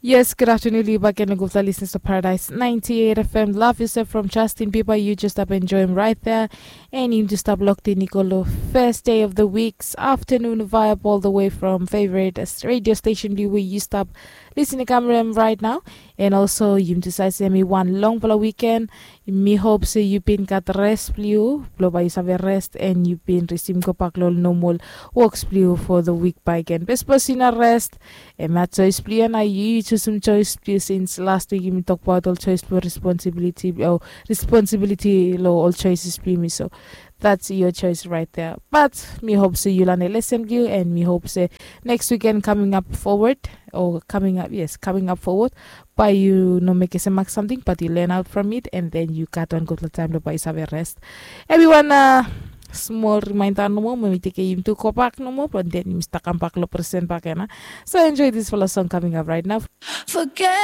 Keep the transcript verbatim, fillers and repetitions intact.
Yes, good afternoon, yu bakegen long gupta listeners of Paradise ninety-eight F M. Love yourself from Justin Bieber. You just stop enjoy him right there. And you just stop locked in, Nicolo. First day of the week's afternoon vibe all the way from favorite radio station, where you stop listening camera right now. And also, you decide to send me one long for the weekend. Mi hope se yu bin gat rest blong yu, blong bae yu save rest and yu bin resume go bak long normal works blong yu for the week bae gen. Best person na rest. Em ya choice blong yu, na yu, yu chusum choice blong yu since last week yumi tokbaot ol choice blong responsibility o responsibility long ol choices blong yumi. So that's your choice right there. But mi hope se yu lane lesson blong yu, and mi hope se next weekend coming up forward, o coming up, yes, coming up forward, bae yu no mekem se mak samting, but yu learn out from it, and then yu gat wan gutpela taem blong bae yu save rest. Everyone, uh, small reminder nomo, mi tekem yumi tu go bak nomo, but then yumi stap kam bak long present bakegen. So enjoy this fala song coming up right now. Forget